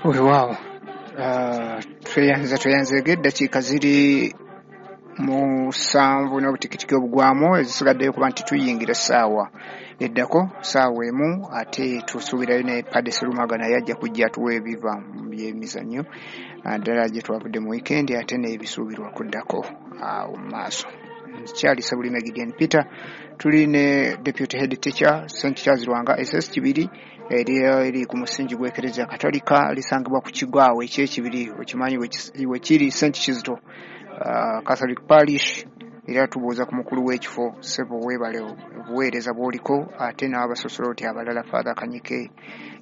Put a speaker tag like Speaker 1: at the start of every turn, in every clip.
Speaker 1: Weewaawo, tweyanzeege. Eddakiika ziri 7 n'obutikitiki obugwamu ezisigaddeyo kuba nti tuyingira essaawa eddako, 1:00, ate tusuubirayo ne Padde Serumaga naye ajja kujja atuwa ebiva mu byemizannyo ddala gye twavudde mu wiikendi, ate n'ebisuubirwa kuddako awo mu maaso. Nkyali Ssebulime Gideon Peter, tuli ne Deputy Head Teacher, St Charles Lwanga SS Kibiri, eri ku musingi gw'Ekereziya Katolika, lisangibwa ku kigo awo eky'Ekibiri, okimanyi wekiri, St Kizito Catholic Parish. Era tubuuza ku mukulu w'ekifo. Ssebo, weebale obuweereza bw'oliko, ate n'abasosoloti abalala, Father Kanyike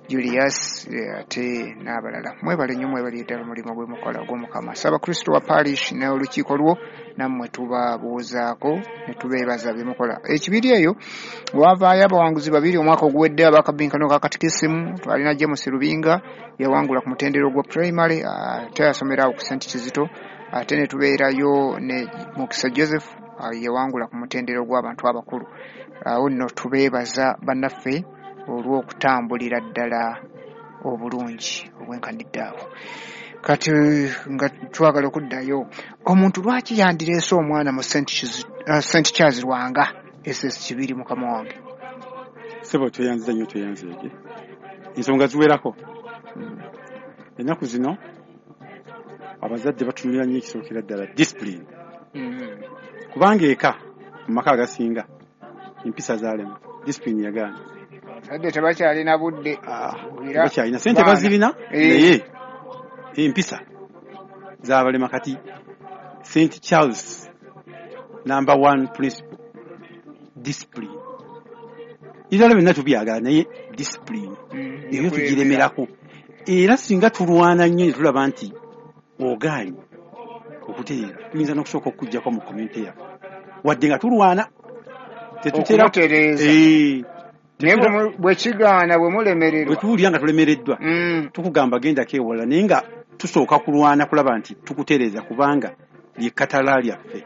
Speaker 1: Julius, ate n'abalala. Mwebale nnyo, mwebale ddala omulimu gwe mukola ogw'Omukama. Ssaabakristo wa parish n'olukiiko lwo, nammwe tubabuuzaako ne tubeebaza bye mukola. Ekibiri eyo wavaayo abawanguzi babiri omwaka oguwedde abakabinkano ka katikisimu. Twalina James Lubinga, yawangula ku mutendera ogwa primary, ate yasomera awo ku St Kizito, ate ne tubeerayo ne Mukisa Joseph, yawangula ku mutendera ogw'abantu abakulu. Awo nno tubeebaza bannaffe olw'okutambulira ddala obulungi obwenkanidde awo. Kati nga twagala okuddayo, omuntu lwaki yandireese omwana mu St Charles Lwanga SS Kibiri, mukama wange?
Speaker 2: Sebo, tweyanziza nnyo, tweyanzeege. Ensonga ziwerako. Ennaku zino abazadde batunulira nnyo ekisookera ddala discipline, kubanga eka mu maka agasinga empisa zaalema, discipline yagaana.
Speaker 1: Abazadde tebakyalina budde.
Speaker 2: Tebakyalina sente, bazirina, naye empisa zabalema. Kati St Charles, number one principle, discipline. Ebirala byonna tubyagala, naye discipline eyo tugiremerako. Era singa tulwana nnyo ne tulaba nti ogaanye okutereera, tuyinza n'okusooka okuggyako mu community yaffe, wadde nga tulwana.
Speaker 1: Tetutera okumutereeza. Naye bwe kigaana, bwe mulemererwa,
Speaker 2: bwe tuwulira nga tulemereddwa, tukugamba gendako ewalala, naye nga tusooka kulwana kulaba nti tukutereeza, kubanga lyekatala lyaffe.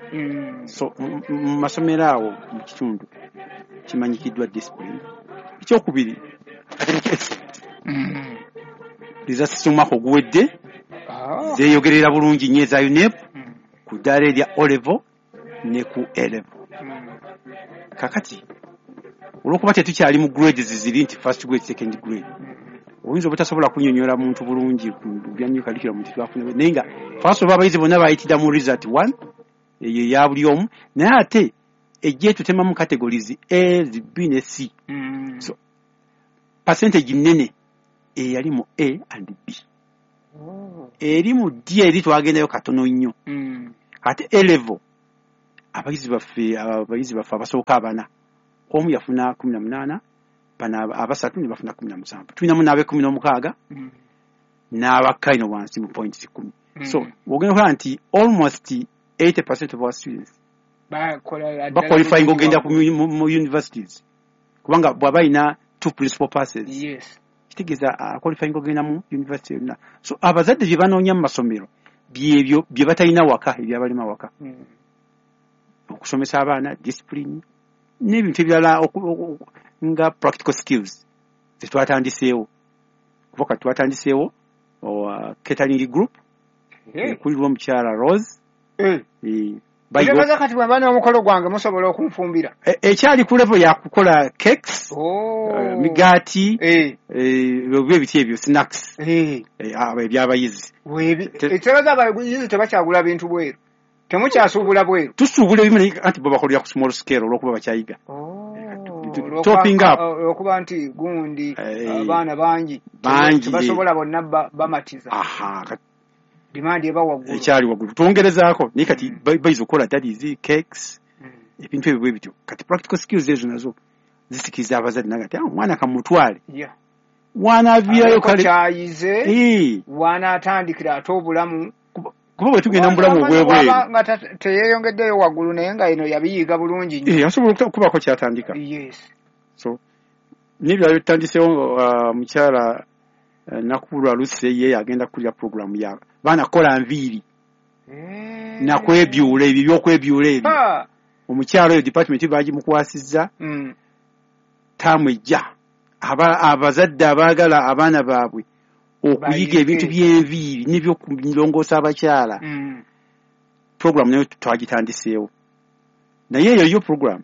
Speaker 2: So mu masomero awo mu kitundu kimanyikiddwa discipline. Ekyokubiri, academic excellence. Results z'omwaka oguwedde zeeyogerera bulungi nnyo eza UNEB ku ddaala erya O level ne ku A level. Kakati olwokuba tetukyali mu grades ziri nti first grade, second grade, oyinza obutasobola kunnyonnyola muntu bulungi ku bya new curriculum nti twafuna, naye nga first of all abayizi bonna bayitira mu result one, eyo eya buli omu, naye ate ejja etutemamu categories A, B ne C. So percentage nnene eyali mu A and B. Eri mu D eri twagendayo katono nnyo. Ate A level abayizi baffe abasooka abana, omu yafuna 18, bano abasatu ne bafuna 17. Tulinamu n'ab'e 16 n'abakka ino wansi mu points 10. So ogenda okulaba nti almost 80% of our students
Speaker 1: bakola
Speaker 2: baqualifying ogenda mu universities, kubanga bw'aba alina two principal passes, kitegeeza qualifying ogenda mu university yonna. So abazadde bye banoonya mu masomero byebyo bye batalina waka, ebyabalema waka: okusomesa abaana discipline n'ebintu ebirala nga practical skills zetwatandiseewo, kuba kati twatandiseewo catering group ekulirwa omukyala Rose.
Speaker 1: Kitegeeza kati bwe mba n'omukolo gwange musobola okunfumbira?
Speaker 2: Ekyali ku level yakukola cakes, migaati, oba ebiti ebyo, snacks, ebyabayizi.
Speaker 1: Ekitegeeza abayizi tebakyagula bintu bweru, temukyasuubula bweru?
Speaker 2: Tusuubula ebimu, naye anti bo bakolera ku small scale olwokuba bakyayiga. Topping up.
Speaker 1: Olwokuba nti gundi abaana bangi,
Speaker 2: Bangi,
Speaker 1: tebasobola bonna bamatiza. Demand eba waggulu.
Speaker 2: Ekyali waggulu, twongerezaako, naye kati bayiza okukola daddies, cakes, ebintu ebyo bwe bityo. Kati practical skills ezo nazo zisikiriza abazadde naga nti, "Ah, omwana kamutwale wanaaviirayo."
Speaker 1: Abeeko
Speaker 2: kale
Speaker 1: kyayize, wanaatandikira ate obulamu.
Speaker 2: Kuba bwe tugenda mu bulamu obw'ebweru,
Speaker 1: Bw'aba nga teyeyongeddeyo waggulu, naye nga eno yabiyiga bulungi nnyo.
Speaker 2: Asobola okubaako kyatandika. So n'ebirala byetutandiseewo, mukyala Nakulwa Luse ye agenda kukulira program ya baana kukola nviiri nakwebyula, ebyo byokwebyula ebyo. Omukyala oyo department bagimukwasizza. Taamu ejja abazadde abaagala abaana baabwe Okuyiga ebintu by'enviiri n'ebyokulongoosa abakyala. Program nayo twagitandiseewo, naye eyo yo program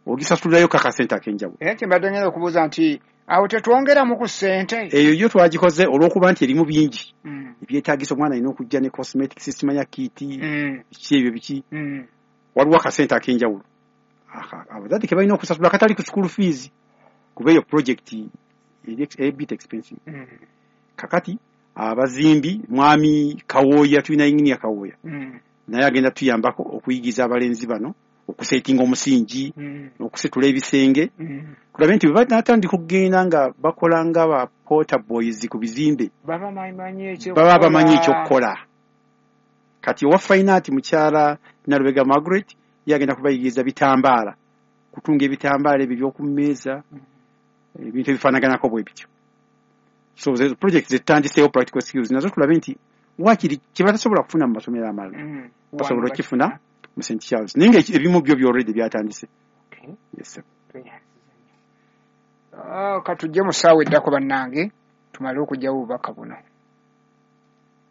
Speaker 2: ogisasulirayo kakasente ak'enjawulo.
Speaker 1: Era kyembadde ngenda okubuuza nti awo tetwongeramu ku ssente?
Speaker 2: Eyo yo twagikoze olw'okuba nti erimu bingi ebyetaagisa. Omwana alina okujja ne cosmetics, simanya kit, biki ebyo biki. Waliwo akasente ak'enjawulo abazadde ke balina okusasula akatali ku school fees, kuba eyo project eri a bit expensive. Kakati abazimbi, mwami Kawooya, tulina engineer Kawooya, naye agenda tuyambako okuyigiza abalenzi bano okusetinga omusingi n'okusitula ebisenge, tulabe nti bwe banatandika okugenda nga bakola nga ba porter boys ku bizimbe,
Speaker 1: baba bamanyi ekyokukola.
Speaker 2: Baba bamanyi ekyokukola. Kati owa fine art, mukyala Nalubega Margaret, ye agenda kubayigiriza bitambaala, kutunga ebitambaala ebyo ebyoku mmeeza, ebintu ebifaanaganako bwe bityo. So ze project zetutandiseewo, practical skills nazo, tulabe nti wakiri kye batasobola kufuna mu masomero amalala basobola okukifuna mu St Charles, naye nga ebimu byo byalready byatandise. Yes, sir.
Speaker 1: Ah, katujje mu ssaawa eddako bannange, tumale okugyawo obubaka buno.